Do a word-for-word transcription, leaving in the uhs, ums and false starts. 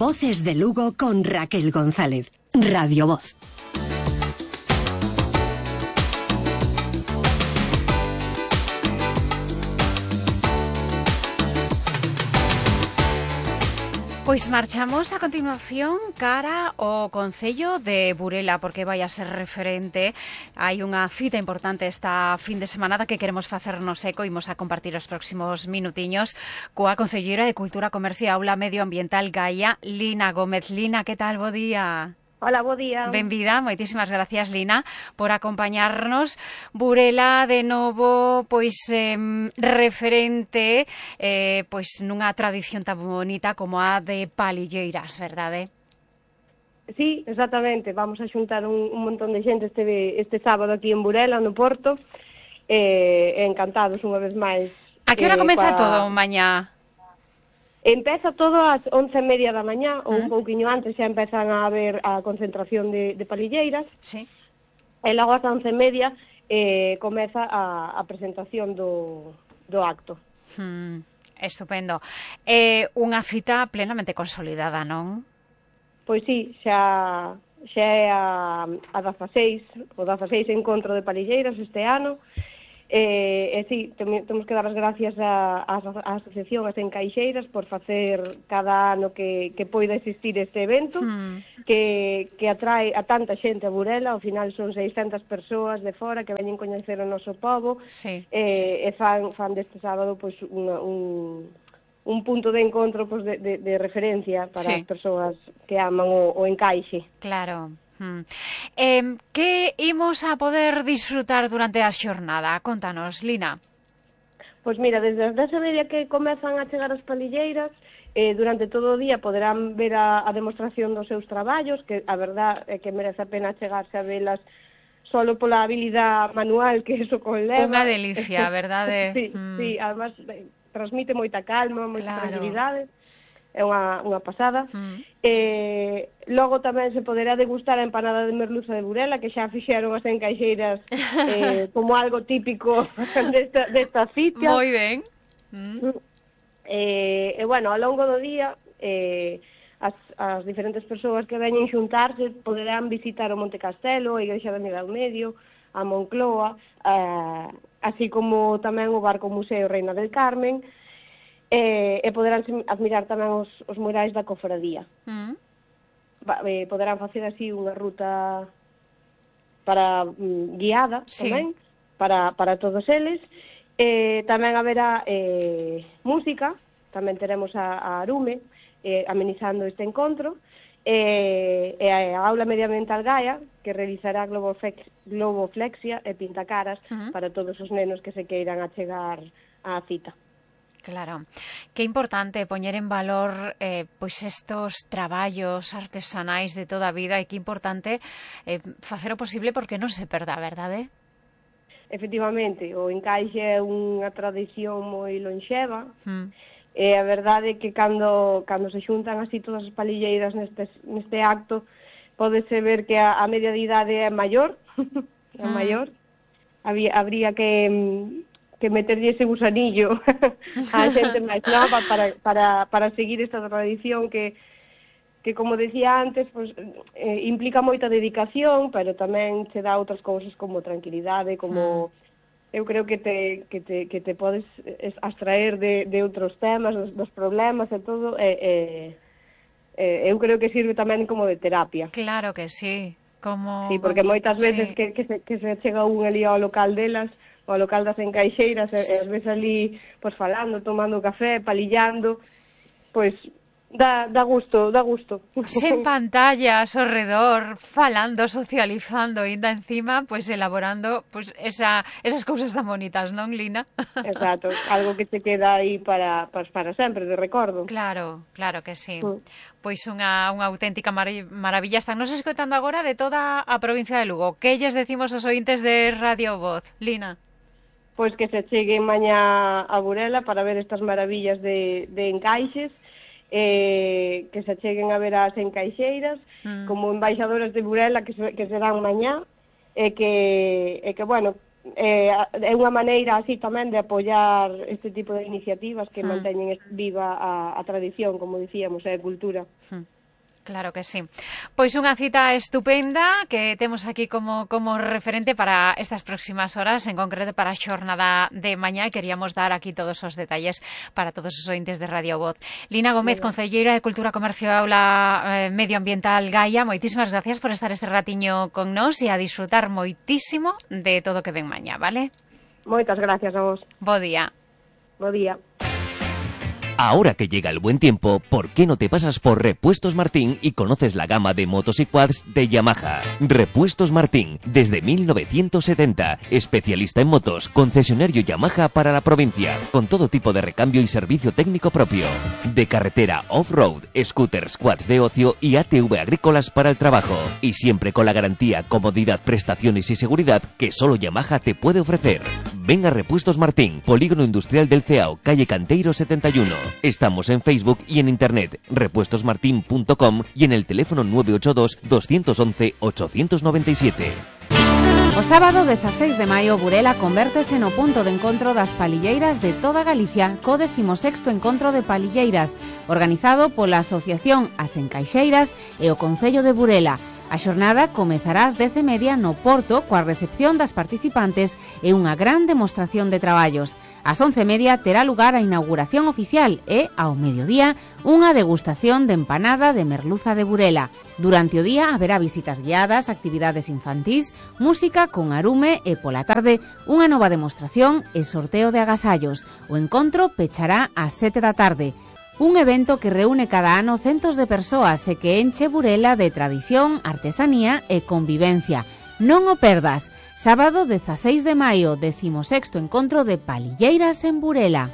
Voces de Lugo con Raquel González. Radio Voz. Pois marchamos a continuación cara ao Concello de Burela, porque vai a ser referente. Hai unha cita importante esta fin de semana que queremos facernos eco e imos a compartir os próximos minutiños coa Concelleira de Cultura, Comercio e Aula Medioambiental Gaia, Lina Gómez. Lina, que tal? Bo día. Hola, bo día. Benvida, moitísimas gracias, Lina, por acompañarnos. Burela, de novo, pois eh, referente eh, pois nunha tradición tan bonita como a de palilleiras, verdade? Sí, exactamente. Vamos a xuntar un, un montón de xente este, este sábado aquí en Burela, no Porto. Eh, encantados unha vez máis. A que hora eh, comeza pa... todo mañá? Empeza todo ás once e media da mañá, ou un pouquiño antes xa empezan a haber a concentración de, de palilleiras. Sí. E logo ás once e media eh, comeza a, a presentación do, do acto. Hmm, estupendo. Eh, unha cita plenamente consolidada, non? Pois sí, xa, xa é a, a dezaseis, o dezaseis encontro de palilleiras este ano. E, e sí, temos que dar as gracias á asociación As Encaixeiras por facer cada ano que, que poida existir este evento, hmm. que, que atrae a tanta xente a Burela. Ao final son seiscentas persoas de fora que veñen coñecer o noso pobo, sí. e, e fan, fan deste sábado pois, unha, un, un punto de encontro pois, de, de, de referencia para sí. as persoas que aman o, o encaixe. Claro. Hmm. Eh, que imos a poder disfrutar durante a xornada? Contanos, Lina. Pois mira, desde as dez e media que comezan a chegar as palilleiras, eh, durante todo o día poderán ver a, a demostración dos seus traballos, que a verdad é que merece a pena chegarse a velas solo pola habilidade manual que eso conleva. Unha delicia, verdade? sí, hmm. sí, además eh, transmite moita calma, moita claro. tranquilidade. É unha, unha pasada. Mm. Eh, logo tamén se poderá degustar a empanada de merluza de Burela, que xa fixeron as encaixeiras eh, como algo típico desta, desta cita. Moi ben. Mm. Eh, e, bueno, ao longo do día, eh, as, as diferentes persoas que veñen xuntarse poderán visitar o Monte Castelo, a Igrexa de Miguel Medio, a Moncloa, eh, así como tamén o Barco Museo Reina del Carmen, E, e poderán admirar tamén os, os murais da cofradía. Mm. Va, eh, poderán facer así unha ruta para mm, guiada sí. tamén, para, para todos eles. Eh, tamén haberá eh, música, tamén teremos a, a Arume eh, amenizando este encontro, e, e a Aula Medioambiental Gaia, que realizará globoflex, globoflexia e pintacaras mm. para todos os nenos que se queiran achegar á cita. Claro, que importante poñer en valor eh, pois estos traballos artesanais de toda a vida, e que importante eh, facer o posible porque non se perda, verdade? Efectivamente, o encaixe é unha tradición moi lonxeva, mm. e a verdade é que cando, cando se xuntan así todas as palilleiras neste, neste acto, pódese ver que a, a media de idade é maior, é mm. maior, había, habría que... que meterlle ese gusanillo a xente máis nova para, para, para seguir esta tradición que, que como decía antes, pues, eh, implica moita dedicación, pero tamén se dá outras cousas como tranquilidade, como mm. eu creo que te, que te, que te podes abstraer de, de outros temas, dos, dos problemas e todo, e, e, e eu creo que sirve tamén como de terapia. Claro que sí. Como... Sí, porque moitas veces sí. que, que, se, que se chega un ali ao local delas, ao local das encaixeiras, e, e as ves ali pois, falando, tomando café, palillando, pois dá, dá gusto, dá gusto. Sen pantallas ao redor, falando, socializando, e ainda encima, pois elaborando pois, esa, esas cousas tan bonitas, non, Lina? Exacto, algo que te queda aí para, para, para sempre, de recordo. Claro, claro que sí. Mm. Pois unha, unha auténtica mar maravilla. Están nos escoitando agora de toda a provincia de Lugo. Que lles decimos aos ointes de Radio Voz, Lina? Pois que se cheguen mañá a Burela para ver estas maravillas de, de encaixes, eh, que se cheguen a ver as encaixeiras, mm. como embaixadoras de Burela que, se, que serán mañá, e que, e que, bueno, eh, é unha maneira así tamén de apoiar este tipo de iniciativas que Hmm. manteñen viva a, a tradición, como dicíamos, e a cultura. Hmm. Claro que sí. Pois unha cita estupenda que temos aquí como, como referente para estas próximas horas, en concreto para a xornada de mañá, e queríamos dar aquí todos os detalles para todos os ointes de Radio Voz. Lina Gómez, concelleira de Cultura, Comercio e Aula eh, Medioambiental Gaia, moitísimas gracias por estar este ratiño con nós e a disfrutar moitísimo de todo o que ven mañá, vale? Moitas gracias a vos. Bo día. Bo día. Ahora que llega el buen tiempo, ¿por qué no te pasas por Repuestos Martín y conoces la gama de motos y quads de Yamaha? Repuestos Martín, desde mil novecientos setenta, especialista en motos, concesionario Yamaha para la provincia, con todo tipo de recambio y servicio técnico propio. De carretera off-road, scooters, quads de ocio y A T V agrícolas para el trabajo. Y siempre con la garantía, comodidad, prestaciones y seguridad que solo Yamaha te puede ofrecer. Ven a Repuestos Martín, Polígono Industrial del Ceao, calle Canteiro setenta y uno. Estamos en Facebook y en internet, repuestos martin punto com y en el teléfono nueve ocho dos, dos once, ocho nueve siete. O sábado dezaseis de maio, Burela convértese no punto de encontro das palilleiras de toda Galicia, co decimosexto Encontro de Palilleiras, organizado pola Asociación As Encaixeiras e o Concello de Burela. A xornada comezará ás dez e media no Porto coa recepción das participantes e unha gran demostración de traballos. Ás once e media terá lugar a inauguración oficial e, ao mediodía, unha degustación de empanada de merluza de Burela. Durante o día haberá visitas guiadas, actividades infantís, música con arume e, pola tarde, unha nova demostración e sorteo de agasallos. O encontro pechará ás sete da tarde. Un evento que reúne cada ano centos de persoas e que enche Burela de tradición, artesanía e convivencia. Non o perdas. Sábado dezaseis de maio, decimosexto Encontro de Palilleiras en Burela.